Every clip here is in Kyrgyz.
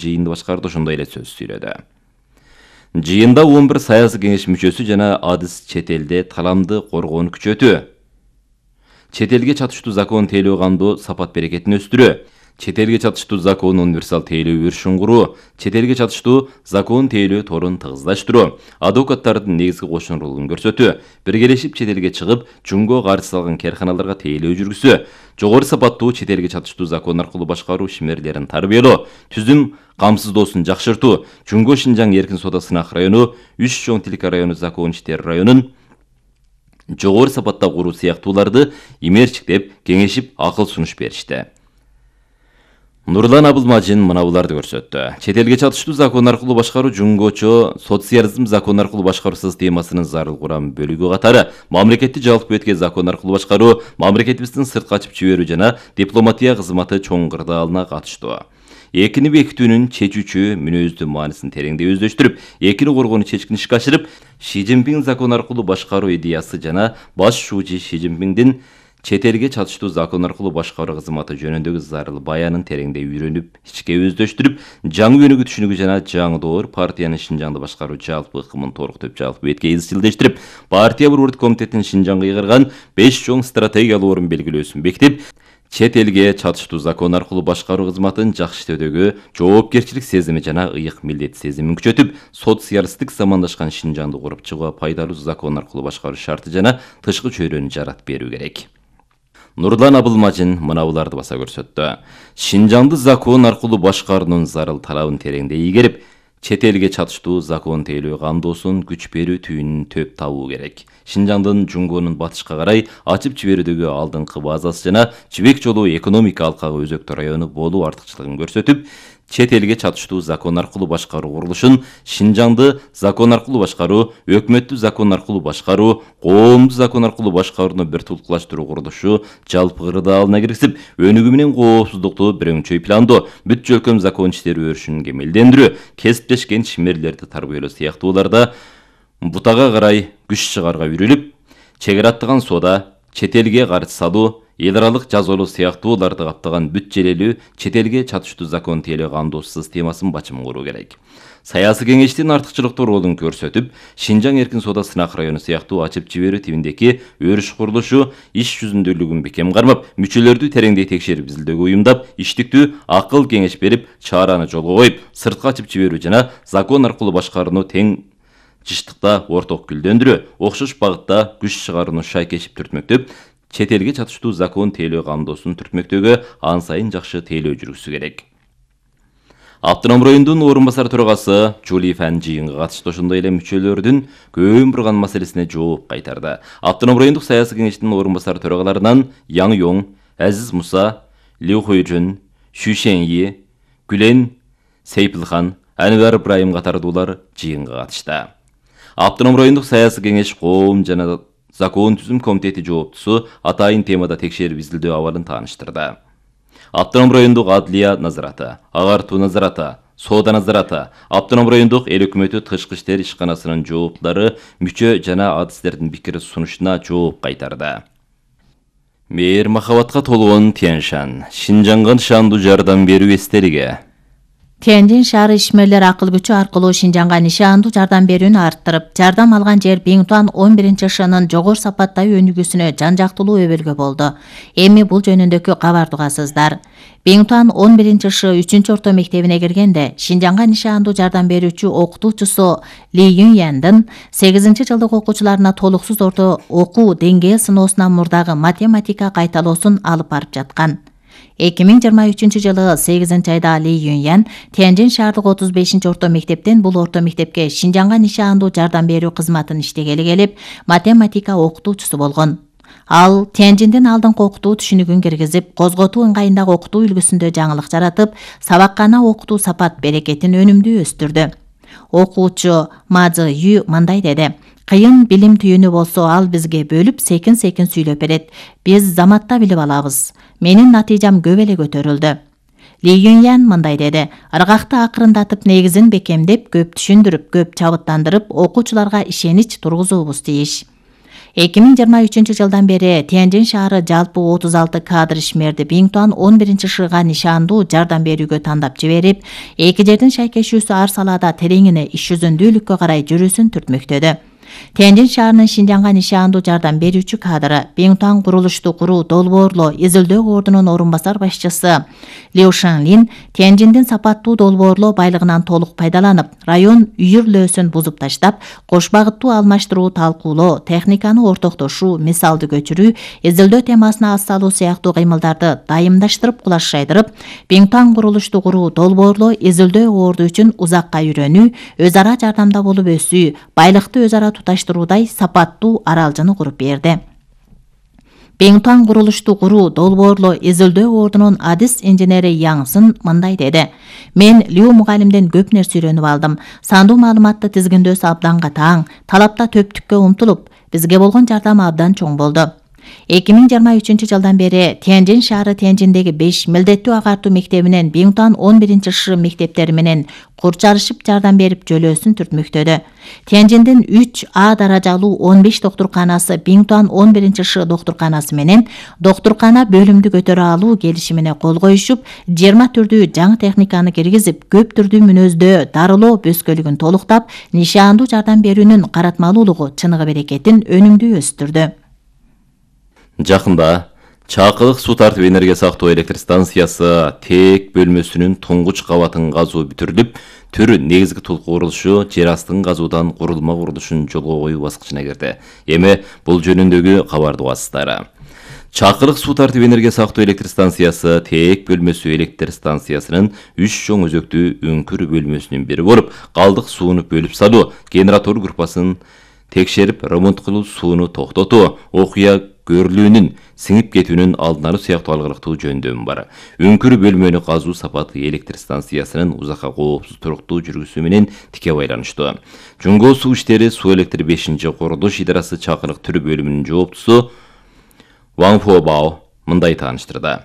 жыйынды башкарды ошондой эле сөз сүйлөдү. Жыйында 11 саясий кеңеш мүчөсү жана адыс чет элде таламды коргоону күчөтүү, чет элге чатыштуу закон тейлөө кандоо сапат берекетин өстүрүү, чет элге чатыштуу закон универсал тейлөө өрүшүн куруу, чет элге чатыштуу закон тейлөө торун тыгыздаштыруу, адвокаттардын негизги кошун ролун көрсөтүү, биргелешип чет элге чыгып, жумго каршы салган керканаларга тейлөө жүргүзүү, жогору сапаттуу чет элге чатыштуу закон аркылуу башкаруу ишмерлерин тарбиялоо, түзүм камсыздоосун жакшыртуу, Жумго Шинжаң эркин соода сынак району, Үч чоң тилка району закон иштери районун жогору сапатта куруу сыяктууларды имерчиктеп, кеңешип, акыл сунуш беришти. Нурлан Абылмажин мынабуларды көрсөттү. Чет элге чатыштуу закон аркылуу башкаруу жумгочо социализм закон аркылуу башкаруу системасынын зарыл курам бөлүгү катары мамлекетти жалпы бетке закон аркылуу башкаруу, мамлекетибиздин сыртка ачып жиберүү жана дипломатия кызматы чоң кырдаалына катыштуу. Экини бекитүүнүн чечүүчү мүнөздүү маанисин тереңдей өздөштүрүп, экини коргоону чечкин ишке ашырып, Ши Цзиньпин закон аркылуу башкаруу идеясы жана баш шуучу Ши Цзиньпиндин чет элге чатыштуу закон аркылуу башкаруу кызматы жөнүндөгү зарыл баянын тереңдей үйрөнүп, ичке өздөштүрүп, жаңы өнүгүү түшүнүгү жана жаңы доор партиянын Шинжаңды башкаруу жалпы ыкмын толуктуп, жалпы бетке изчилдештирип, партия борбордук комитетинин Шинжаңга ыйгарган 5 чоң стратегиялык орун белгилөөсүн бекитип, чет элге чатыштуу закон аркылуу башкаруу кызматын жакшы иштөөдөгү жоопкерчилик сезими жана ыйык милдет сезимин күчөтүп, социалисттик замандашкан Шинжаңды куруп чыгууга пайдалуу закон аркылуу башкаруу шарты жана тышкы чөйрөнү жаратып берүү керек. Нурлан Абылмажин мынабуларды баса көрсөттү. Шинжаңды закон аркылуу башкаруунун зарыл талабын тереңдей ийгерип, чет элге чатыштуу закон тейлөө кандоосун күч берүү түйүнүн төп табуу керек. Шинжаңдын Жумгонун батышка карай ачып жиберүүдөгү алдыңкы базасы жана Жибек жолу экономика алкагы өзөктүү району болуу артыкчылыгын көрсөтүп, чет элге чатыштуу закон аркылуу башкаруу курулушун Шинжаңды закон аркылуу башкаруу, өкмөттү закон аркылуу башкаруу, коомду закон аркылуу башкарууну бир тулкулаштыруу курулушу жалпы кырдаалына киргизип, өнүгүү менен коопсуздукту бир өңчөй пландоо, бүт жөлкөм закон иштери өрүшүн кемелдендирүү, кесиптешкен ишмерлерди тарбиялоо сыяктууларда бутага карай күч чыгарга үйрүлүп, чек ара аттаган соода, чет элге каржы салуу, эл аралык жазалоо сыяктууларды каптаган бүт желелүү чет элге чатыштуу закон тейлөө кандоо системасын бачым куруу керек. Саясий кеңештин артыкчылыктуу ролун көрсөтүп, Шинжаң эркин соода сынак району сыяктуу ачып жиберүү тибиндеги өрүш курулушу иш жүзүндүүлүгүн бекем кармап, мүчөлөрдү тереңдей текшерип изилдөөгө уюмдап, иштиктүү акыл кеңеш берип, чараны жолго коюп, сыртка ачып жиберүү жана закон аркылуу башкарууну тең жыштыкта орток гүлдөндүрүү, окшош багытта күч чыгарууну шайкешип түртмөктөп, чет элге чатыштуу закон тейлөө кандоосун түртмөктөөгө ан сайын жакшы тейлөө жүргүзүү керек. Автоном райондун орун басар төрагасы Жулифан жыйынга катышты, ошондой эле мүчөлөрдүн көбүн бурган маселесине жооп кайтарды. Автоном райондук саясий кеңештин орун басар төрагаларынан Яң Йоң, Азиз Муса, Лю Хуйжун, Шу Шеньи, Гүлен Сейпилхан, Анвар Ибраим катардуулар жыйынга катышты. Автоном райондук саясий кеңеш коом жана закон түзүм комитети жооптусу атайын темада текшерип изилдөө абалын тааныштырды. Автоном райондук адлия назараты, агартуу назараты, соода назараты, автоном райондук эл өкмөтү тышкы иштер ишканасынын жооптулары мүчө жана адистердин пикир сунушуна жооп кайтарды. Мээр махабатка толгон Тяньшан, Шинжаңга нышандуу жардам берүү эстелиги. Тяньшан шаары ишмерлер акыл күчү аркылуу Шинжаңга нишандуу жардам берүүнү арттырып, жардам алган жер Биңтуан 11-шынын жогору сапаттагы өнүгүүсүнө жан-жактылуу өбөлгө болду. Эми бул жөнүндөгү кабарды угасыздар. Биңтуан 11-шы 3-орто мектебине киргенде Шинжаңга нишандуу жардам берүүчү окутуучусу Ли Юньяндын 8-жылдык окуучуларына толуксуз орто окуу деңгээл сыноосунан мурдагы математика кайталоосун алып барып жаткан. 2023 жылы 8 айда Ли Юньян Тяньшан шаардык 35-орто мектептен бул орто мектепке Шинжаңга нишандуу жардам берүү кызматын иштегели келип, математика окутуучусу болгон. Ал Тяньшандын алдыңкы окутуу түшүнүгүн киргизип, козготуу ыңгайындагы окутуу үлгүсүндө жаңылык жаратып, сабаккана окутуу сапат берекетин өнүмдүү өстүрдү. Окуучу Мазы Ю мындай деди: Кыйын билим түйүнү болсо, ал бизге бөлүп секин-секин сүйлөп берет. Биз заматта билип алабыз. Менин натыйжам көп эле көтөрүлдү. Ли Юньян мындай деди: Ыргакты акырындатып, негизин бекемдеп, көп түшүндүрүп, көп чабыттандырып, окуучуларга ишенич тургузуубуз тийиш. 2023 жылдан бери Тяньжин шаары жалпы 36 кадр ишмерди Биңтуан 11-шыга нишандуу жардам берүүгө тандап жиберип, эки жердин шайкешүүсү ар салаада тереңине иш жүзүндүүлүккө карай жүрүүсүн түртмөктөдү. Тяньжин шаарынын Шинжаңга нишандуу жардам берүүчү кадры Биңтуан курулушту куруу долбоорлоо изилдөө ордунун орун басар башчысы Лю Шанлин Тяньжиндин сапаттуу долбоорлоо байлыгынан толук пайдаланып, район үйүрлөөсүн бузуп таштап, кош багыттуу алмаштыруу, талкуулоо, техниканы ортоктошуу, мисалды көчүрүү, изилдөө темасына ас салуу сыяктуу кыймылдарды дайымдаштырып, кулаш жайдырып, Биңтуан курулушту куруу, долбоорлоо, изилдөө орду үчүн узакка үйрөнүү, өз ара жардамда болуп өсүү, байлыкты өз ара туташтыруудай сапаттуу аралжаны куруп берди. Биңтуан курулушту куруу, долбоорлоо, изилдөө ордунун адис инженери Яңсын мындай деди. Мен Лю мугалимден көп нерсе үйрөнүп алдым. Сандуу маалыматты тизгиндөөсү абдан катаң, талапта төптүккө умтулуп, бизге болгон жардам абдан чоң болду. 2023 жылдан бери Тяньжин шаары Тяньжиндеги 5 милдеттүү агартуу мектебинен Биңтуан 11-ш мектептери менен курчарышып жардам берип жөлөөсүн түртмөктөдү. Тяньжиндин 3А даражалуу 15 доктурканасы Биңтуан 11-ш доктурканасы менен доктуркана бөлүмдү көтөрө алуу келишимине кол коюшуп, 20 түрдүү жаңы техниканы киргизип, көп түрдүү мүнөздөө дарылоо бөскөлүгүн толуктап, нишандуу жардам берүүнүн каратмалуулугу, чыныгы берекетин өнүмдүү өстүрдү. Жакында Чакылык суу тартып энергия сактоо электр станциясы ТЭК бөлмөсүнүн туңгуч кабатын казуу бүтүрүлүп, төр негизги толку курулушу жер астын казуудан курулма курулушун жолго коюу баскычына кирди. Эми бул жөнүндөгү кабарды угасыздар. Чакылык суу тартып энергия сактоо электр станциясы ТЭК бөлмөсү электр станциясынын 3 чоң өзөктүү өңкүр бөлмөсүнүн бири болуп, калдык сууну бөлүп салуу, генератор группасын текшерип, ремонт кылуу, сууну токтотуу, окуя көрүлүүнүн сиңип кетүүнүн алдын алуу сыяктуу алгылыктуу жөндөмү бар. Өңкүр бөлмөнү казуу сапаты электр станциясынын узакка коопсуз туруктуу жүргүзүү менен тике байланыштуу. Жөнгө суу иштери Суу электр 5-курулуш идарасы Чакылык түрү бөлүмүнүн жооптусу Ван Фобао мындай тааныштырды.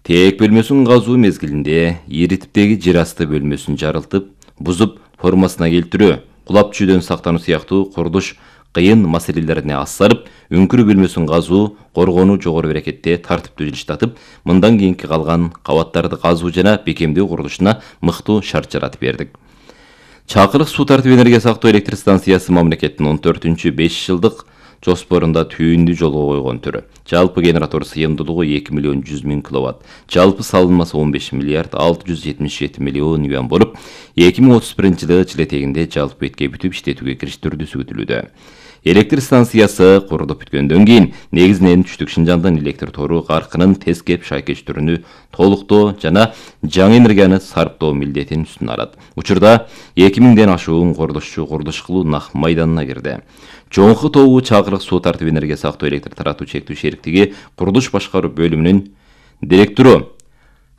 ТЭК бөлмөсүнүн казуу мезгилинде ири типтеги жер асты бөлмөсүн жарылтып, бузуп, формасына келтирүү, кулап түшүүдөн сактануу сыяктуу курулуш кыйын маселелерине ас салып, өңкүр бөлмөсүн казуу, коргонуу жогору берекетте тартиптүү жылыштатып, мындан кийинки калган кабаттарды казуу жана бекемдөө курулушуна мыктуу шарт жаратып бердик. Чакылык суу тартып энергия сактоо электр станциясы мамлекеттин 14-5 жылдык жоспорунда түйүндү жолго койгон түрү. Жалпы генератор сыйымдуулугу 2 миллион 100 миң киловатт. Жалпы салынмасы 15 миллиард 677 миллион юан болуп, 2031 жылы жыл этегинде жалпы бетке бүтүп иштетүүгө кириштирүүсү күтүлүүдө. Электр станциясы курулуп бүткөндөн кийин негизинен түштүк Шинжаңдын электр тору каркынын тез кеп шайкештүүрүнү толуктоо жана жаңы энергияны сарптоо милдетин үстүнө алат. Учурда 2000ден ашуун курулушчу курулуш кылуу нак майданына кирди. Жоңку тобу Чакылык суу тартып энергия сактоо электр таратуу чектүү шериктиги курулуш башкаруу бөлүмүнүн директору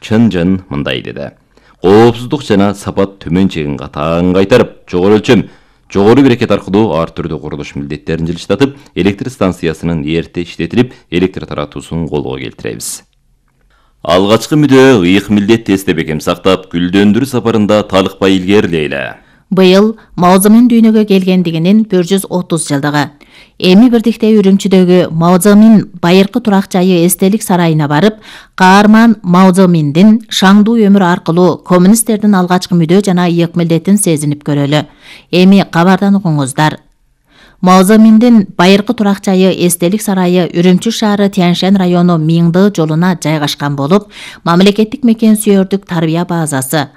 Чын Жын мындай деди. Коопсуздук жана сапат төмөн чегин катаң кайтарып, жогору өлчөм, жогору берекет аркылуу ар түрдүү курулуш милдеттерин жылыштатып, электр станциясынын эрте иштетилип, электр таратуусун колго келтиребиз. Алгачкы мүдө ыйык милдетти эсте бекем сактап, гүлдөндүрүү сапарында талыкпай илгерилейле. Быйыл Мао Цзэдун дүйнөгө келгендигинин 130 жылдыгы. Эми бирдикте Үрүмчүдөгү Мао Цзэдун байыркы турак жайы эстелик сарайына барып, каарман Мао Цзэдундун шаңдуу өмүрү аркылуу коммунисттердин алгачкы мүдө жана ыйык милдетин сезинип көрөлү. Эми кабардан угуңуздар. Мао Цзэдундун байыркы турак жайы эстелик сарайы Үрүмчү шаары Тяньшань району Миңды жолуна жайгашкан болуп, мамлекеттик мекен сүйөрдүк тарбия базасы.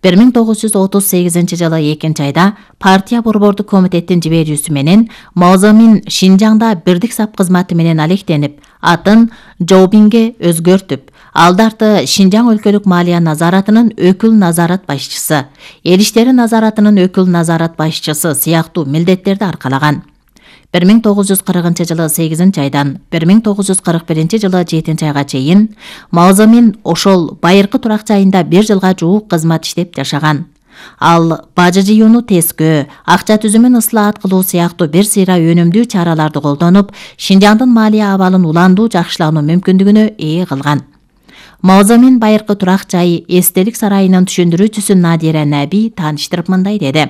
1938 жылы 2-айда партия борбордук комитеттин жиберүүсү менен Мао Цзэдун Шинжаңда бирдик сап кызматы менен алектенип, атын Жоубинге өзгөртүп, алдарты Шинжаң өлкөлүк малия назаратынын өкүл назарат башчысы, эл иштери назаратынын өкүл назарат башчысы сыяктуу милдеттерди аркалаган. 1940 жылы 8-айдан 1941 жылы 7-айга чейин Мао Цзэдун ошол байыркы турак жайында 1 жылга жуук кызмат иштеп жашаган. Ал бажы жыюуну тескөө, акча түзүмүн ыслаат кылуу сыяктуу бир сыйра өнүмдүү чараларды колдонуп, Шинжаңдын малия абалын уландуу жакшылануу мүмкүндүгүнө ээ кылган. Мао Цзэдун байыркы турак жайы эстелик сарайынын түшүндүрүүчүсү Надира Наби тааныштырып мындай деди.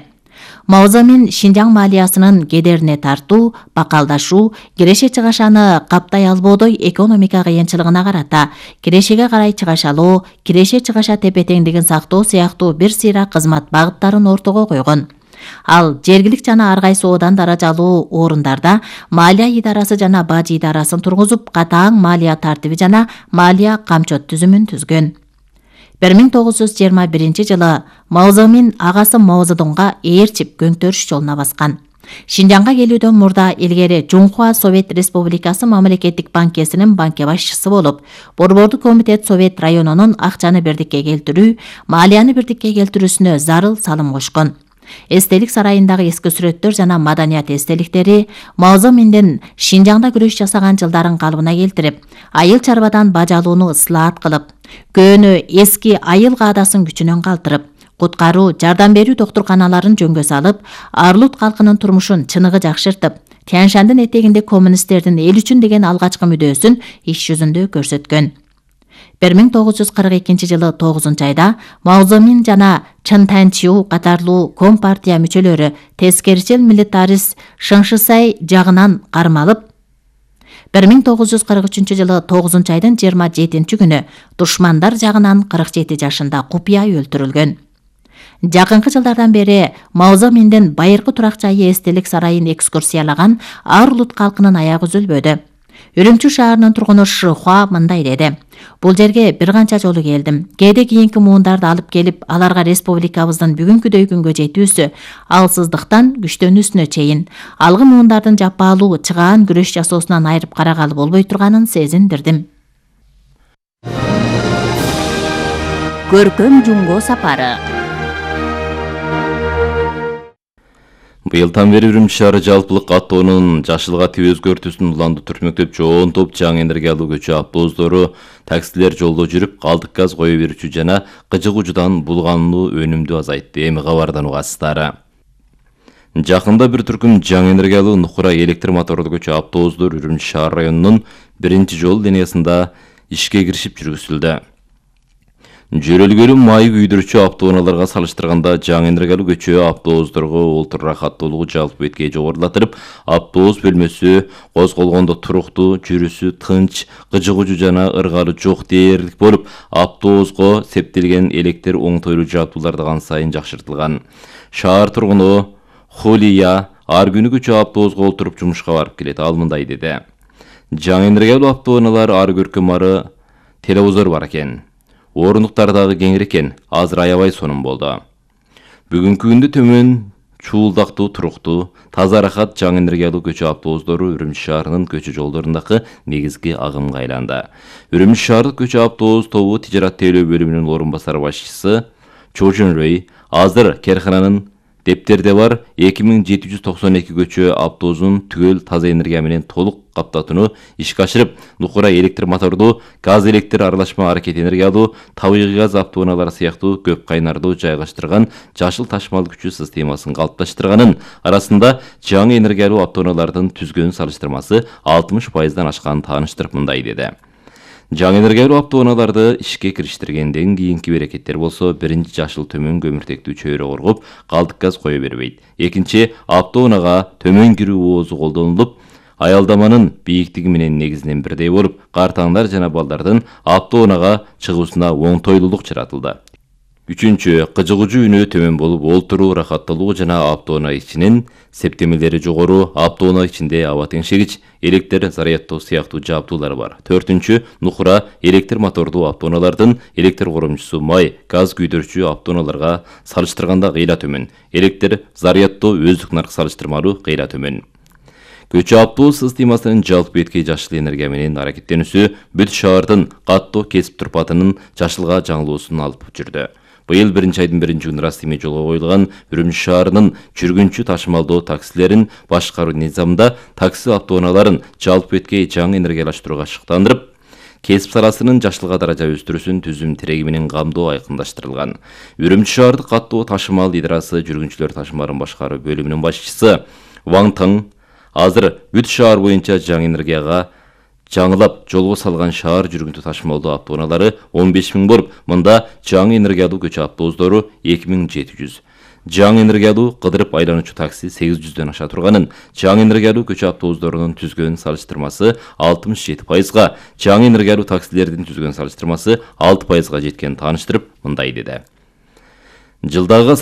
Маозамин Шинжаң маалиясынын кедерине тартуу, бакалдашуу, киреше чыгашаны каптай албоодой экономика кыйынчылыгына карата кирешеге карай чыгашалоо, киреше чыгаша тепе-теңдигин сактоо сыяктуу бир сыйра кызмат багыттарын ортого койгон. Ал жергилик жана ар кайсы одан даражалуу орундарда маалия идарасы жана бажы идарасын тургузуп, катаң маалия тартиби жана маалия камчот түзүмүн түзгөн. 1921-жылы Маозамин агасы Маозедонго ээрчип көңтөрүш жолуна баскан. Шинжаңга келүүдөн мурда илгери Жунхуа Совет Республикасы мамлекеттик банкесинин банке башчысы болуп, Борбордук комитет Совет районунун акчаны бирдикке келтирүү, маалияны бирдикке келтирүүсүнө зарыл салым кошкон. Эстелик сарайындагы эски сүрөттөр жана маданият эстеликтери Маозаминдин Шинжаңда күрөш жасаган жылдарын калыбына келтирип, айыл чарбадан баж алууну ыслаат кылып, көөнү эски айыл каадасын күчүнөн калтырып, куткаруу, жардам берүү доктурканаларын жөнгө салып, Арлут калкынын турмушун чыныгы жакшыртып, Тянь-Шандын этегинде коммунисттердин эл үчүн деген алгачкы мүдөөсүн иш жүзүндө көрсөткөн. 1942-жылы 9-айда Маозамин жана Чын Танчиу катарлуу Компартия мүчөлөрү тескерчил милитарист Шыңшысай жагынан кармалып, 1943-жылы 9-айдын 27-күнү душмандар жагынан 47 жашында купуя өлтүрүлгөн. Жакынкы жылдардан бери Маозаминдин байыркы турак жайы эстелик сарайын экскурсиялаган Арлут калкынын аягы үзүлбөдү. Үрүмчү шаарынын тургуну Шыхуа мындай деди: "Бул жерге бир канча жолу келдим. Кээде кийинки муундарды алып келип, аларга республикабыздын бүгүнкүдөй күнгө жетүүсү, алсыздыктан күчтөнүүсүнө чейин алгы муундардын жапаалуу чыгаан күрөш жасоосунан айырып карагалы болбой турганын сезиндирдим." Көркөм жумго сапары. Быйылдан бери Үрүмчү шаары жалпылык каттоонун жашылга тип өзгөртүүсүн уланды түртмөктөп жоон топ жаңы энергиялуу көчү автобустары, таксилер жолдо жүрүп, калдык газ кое берүүчү жана кыжык учудан булгануу өнүмдү азайтты. Эми кабардан угасыздар. Жакында бир түркүм жаңы энергиялуу нукура электр мотордуу көчү автобустар Үрүмчү шаар районунун 1-жол линиясында ишке киришип жүргүзүлдү. Жөрөлгөлүү май күйдүрүүчү автоунааларга салыштырганда жаңы энергиялуу көчү автобустарга олтур рахаттуулугу жалпы беткей жогорулатырып, автобус бөлмөсү козголгондо туруктуу, жүрүсү тынч, кыжык учу жана ыргалы жок дээрлик болуп, автобуска септелген электр оңтойлуу жабдуулар да сайын жакшыртылган. Шаар тургуну Холия ар күнү көчү автобуска олтуруп жумушка барып келет. Ал мындай деди: "Жаңы энергиялуу автоунаалар ар көркөм ары телевизор бар экен. Орындуктар дагы кеңир экен, азыр аябай сонун болду. Бүгүнкү күндө төмөн чуулдактуу, туруктуу, таза рахат жаңы энергиялуу көчү автобустары Үрүмчү шаарынын көчү жолдорундагы негизги агымга айланды." Үрүмчү шаардык көчү автобус тобу тижарат тейлөө бөлүмүнүн орун басар башчысы Чо Жун Рэй азыр керкананын дептерде бар 2792 көчү автобусун түгөл таза энергия менен толук каптатууну ишке ашырып, нукура электр мотордуу, газ электр аралашма аракет энергиялуу, табигый газ автоунаалары сыяктуу көп кайнардуу жайгаштырган жашыл ташмал күчү системасын калыпташтырганын, арасында жаңы энергиялуу автоунаалардын түзгөн салыштырмасы 60%дан ашканын тааныштырып мындай деди: "Жаңы энергиялуу автоунааларды ишке кириштиргенден кийинки берекеттер болсо, биринчи жашыл төмөн көмүртектүү чөйрө коргоп, калдык газ кое бербейт. Экинчи, автоунаага төмөн кирүү оозу колдонулуп, аялдаманын бийиктиги менен негизинен бирдей болуп, картаңдар жана балдардын автоунаага чыгуусуна оңтойлуулук жаратылды. Үчүнчү, кыжык учу үнөө төмөн болуп, олтуруу рахаттуулугу жана автоунаа ичинин септемелери жогору, автоунаа ичинде аба теңшегич, электр зарядтоо сыяктуу жабдуулар бар. Төртүнчү, нукура электр мотордуу автоунаалардын электр коромчусу май, газ күйдүрүүчү автоунааларга салыштырганда кыйла төмөн. Электр зарядтоо өздүк нарк салыштырмалуу кыйла төмөн. Көчү автобус системасынын жалпы беткей жашыл энергия менен аракеттенүүсү бүт шаардын каттоо кесип турпатынын жашылга жаңылуусун алып жүрдү. Быйыл 1-айдын 1-күнү расмий жолго коюлган Үрүмчү шаарынын жүргүнчү ташымалдоо таксилерин башкаруу низамында такси автоунааларын жалпы беткей жаңы энергиялаштырууга шыктандырып, кесип саласынын жашылга даража өстүрүүсүн түзүм тиреги менен камдоо айкындаштырылган. Үрүмчү шаардык каттоо ташымал идарасы жүргүнчүлөр ташымаларын башкаруу бөлүмүнүн башчысы Ван Таң азыр бүт шаар боюнча жаңы энергияга жаңылап жолго салган шаар жүргүнчү ташымалдоо автоунаалары 15 000 болуп, мында жаңы энергиялуу көчү автобустары 2700. жаңы энергиялуу кыдырып айлануучу такси 800дөн аша турганын, жаңы энергиялуу көчө автобустарынын түзгөн салыштырмасы 67%, жаңы энергиялуу таксилердин түзгөн салыштырмасы 6%га жеткенин тааныштырып, мындай деди. Жылдагыга